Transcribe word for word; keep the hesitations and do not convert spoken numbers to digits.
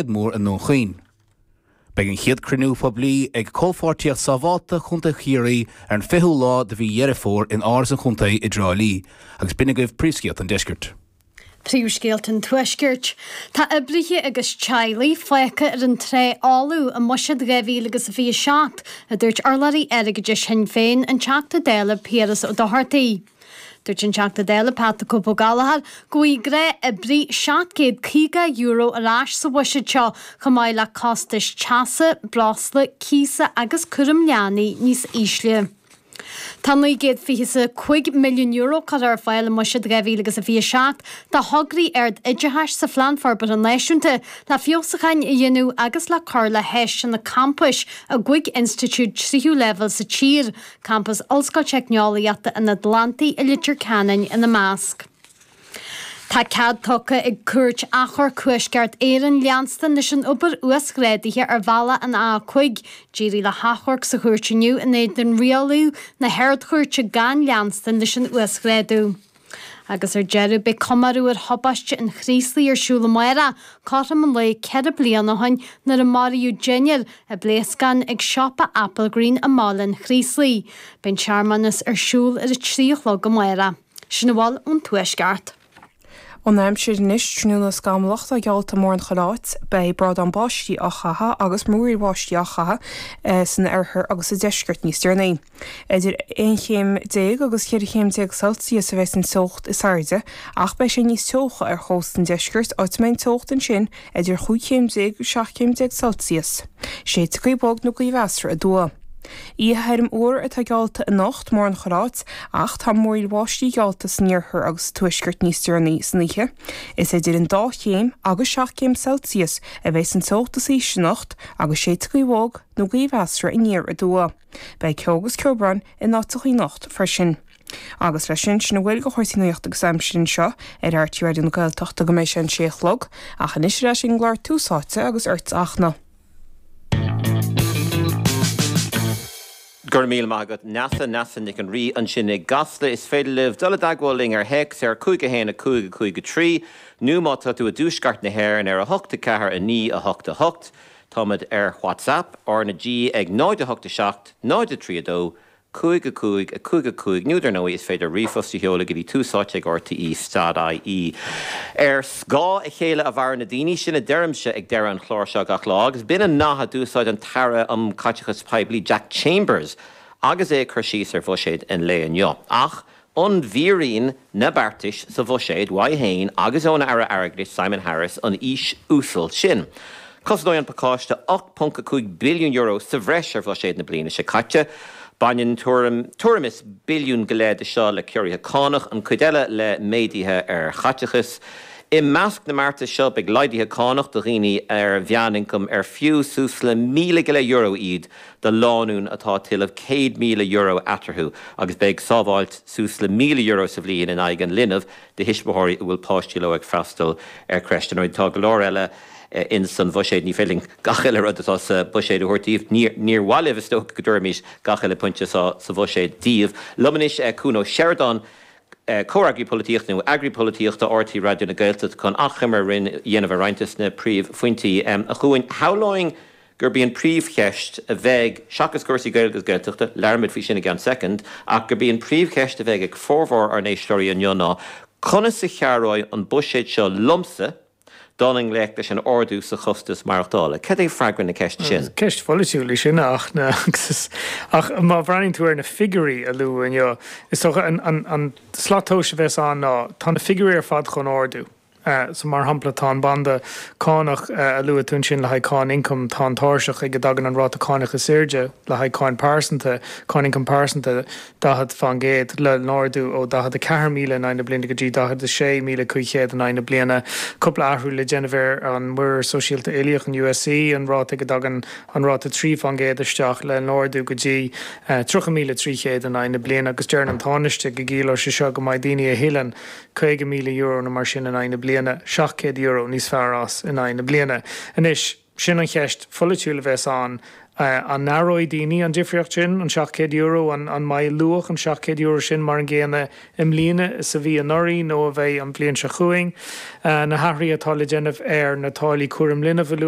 Mór i nDún Chaoin. Beidh an chéad cruinniú poiblí ag Comhpháirtíocht Sábháilte Chontae Chiarraí ar an fichiú lá de mhí Dheireadh Fómhair in Áras an Chontae i dTrá Lí, agus b'in agaibh príomhscéalta an deiscirt. Príomhscéalta an Tuaiscirt. Tá oibrithe agus teaghlaigh fágtha ar an trá fholamh i mBuiséad dhá mhíle agus a fiche seacht, a dúirt urlabhraí airgeadais Shinn Féin, an Teachta Dála Piaras Ó Dochartaigh. Dúirt an Teachta Dála Pat the Cope Ó Gallchóir go bhfaighidh gnáthoibrí seacht gcéad caoga euro ar ais sa bhuiséad seo chomh maith le costais teasa, breosla, cíosa agus cúram leanaí níos ísle. Tá naoi gcéad fiche a cúig milliún euro curtha ar fáil i mBuiséad dhá mhíle agus a fiche seacht do thograí ard-oideachais sa Phlean Forbartha Náisiúnta le feabhsúcháin a dhéanamh agus le cur le háiseanna campais i gcúig institiúid tríú leibhéal sa tír, Campas Ollscoil Teicneolaíochta an Atlantaigh i Leitir Ceanainn ina measc. Tá cead tugtha ag Cúirt Achomhairc Thuaisceart Éireann leanstan leis an obair uasghrádaithe ar bhealach an A cúig. D'éirigh le hachomharc sa chúirt inniu in éadan rialú na hArd-Chúirte gan leanstan leis an uasghrádú. Agus ar deireadh, beidh comóradh ar thubaiste an Chraoslaigh ar siúl amárach, cothrom an lae ceithre bliana ó shin nuair a maraíodh deichniúr i bpléascán ag siopa Applegreen i mBaile an Chraoslaigh. Beidh an searmanas ar siúl ar a trí a chlog amárach. Sin a bhfuil ón Tuaisceart. An aimsir anois tráthnóna scamallach atá geallta mórán chuile áit, beidh brádán báistí á chaitheamh agus múraíl bháistí á chaitheamh san oirthear agus sa deisceart níos deireanaí. Idir aon chéim déag agus ceithre chéim déag Celsius a bheas an teocht is airde ach beidh sé níos teocha ar chósta an deiscirt áit a mbeidh an teocht ansin idir chúig chéim déag agus seacht chéim déag Celsius. Séidfidh gaoth bhog nó gaoth mheasartha aduaidh. Oíche thirim fhuar atá geallta anocht mórán chuile áit ach tá múraíl bháistí geallta san iarthar agus sa tuaisceart níos deireanaí san oíche. Is idir an dá chéim agus seacht gcéim Celsius a bheas an teocht is ísle anocht agus séidfidh gaoth bhog nó gaoth mheasartha aniar aduaidh. Beidh ceo agus ceobhrán in áiteachaí anocht freisin. Agus leis sin, sin a bhfuil de chúrsaí nuachta agus aimsire anseo ar RTÉ Raidió na Gaeltachta go mbeidh sé an sé a chlog, ach anois ar ais ag an gclár Tús Áite agus ort a Fhachtna. Go raibh míle maith agat Neasa, Neasa Nic an Rí ansin i gCasla. Is féidir libh dul i dteagmháil linn ar théacs ar cúig a haon a cúig a cúig a trí nó má tá tú i dtuaisceart na hÉireann ar a hocht a ceathair a naoi a hocht a hocht. Táimid ar WhatsApp, R na G ag náid a hocht a seacht, náid a trí a dó, cúig a cúig a cúig a cúig nó dar ndóigh is féidir ríomhphost a sheoladh go dtí tús áite ag RTE dot IE. Ar scáth a chéile a mhaireann na daoine, sin a deirimse ag deireadh an chláir seo gach lá agus b'in an nath a d'úsáid an tAire um Chaiteachas Poiblí Jack Chambers agus é ag cur síos ar bhuiséad an lae inniu. Ach an bhfíoraíonn na beartais sa bhuiséad uaidh féin agus ón Aire Airgeadais Simon Harris an fhís uasal sin? Cosnóidh an pacáiste ocht ponc a cúig billiún euro sa bhreis ar bhuiséad na bliana seo caite. Baineann tuairim tuairim is billiún go leith de seo le ciorruithe cánach, an chuid eile le méaduithe ar chaiteachas. I measc na mbeartas seo beidh laghduithe cánach do dhaoine ar mheánioncam ar fiú suas le míle go leith euro iad do lánúin atá ag tuilleamh céad míle euro eatarthu agus beidh sábháilt suas le míle euro sa bhliain in aghaidh an linbh do thuismitheoirí a bhfuil páistí leo ag freastal ar creche. Dar ndóigh tá go leor eile in san bhuiséad. Ní féidir linn gach uile rud atá sa bhuiséad a thabhairt daoibh. Níor mhaith libh, is dócha, go dtabharfaimis gach uile pointe sa bhuiséad daoibh. Liom anois Cuan Ó Seireadáin, comhfhreagraí polaitíochta nó eagraí polaitíochta RTÉ Raidió na Gaeltachta chun achoimre a dhéanamh ar roinnt de na príomhphointí. A Chuain, shamhlóinn gurb í an príomhcheist a bheidh, seachas cúrsaí Gaeilge agus Gaeltachta, labhróimid faoi sin i gceann soicind, ach gurb í an príomhcheist a bheidh ag formhór ár n-éisteoirí inniu ná, conas a chabhróidh an buiséad seo liomsa dul i ngleic leis an ardú sa chostas maireachtála? Cad é freagra na ceiste sin? Is ceist pholaitiúil í sin, a Fhachtna, agus ach má bhreathnaíonn tú ar na figiúirí a luadh inniu, is dócha an an slat tomhais a bheas ann ná tá na figiúirí ar fad chun ardú. So mar shampla tá an banda cánach a luaigh tú ansin le haghaidh cáin ioncaim, tá an tairseach ag a dtagann an ráta cánach is airde le haghaidh cáin pearsanta, cáin ioncaim pearsanta, daichead faoin gcéad, le n-ardú ó daichead a ceathair míle in aghaidh na bliana go dtí daichead a sé míle cúig chéad in aghaidh na bliana. Cúpla athrú le déanamh ar an Muirear Sóisialta Uilíoch, an USC, an ráta ag a dtagann an ráta trí faoin gcéad isteach le n-ardú go dtí tríocha míle trí chéad in aghaidh na bliana agus deireann an Tánaiste go gciallóidh sé seo go mbeidh daoine a thuilleann caoga míle euro nó mar sin in aghaidh na bliana, seacht gcéad euro níos fearr as in aghaidh na bliana. Anois, sin an cheist pholaitiúil a bheas ann, An n-aireoidh daoine an difríocht sin, an seacht gcéad euro, an mbeidh luach an seacht gcéad euro sin mar an gcéanna i mbliana is a bhí anuraidh nó a bheidh an bhliain seo chugainn? Na hathruithe atá le déanamh ar na táillí cúraim linbh a luaigh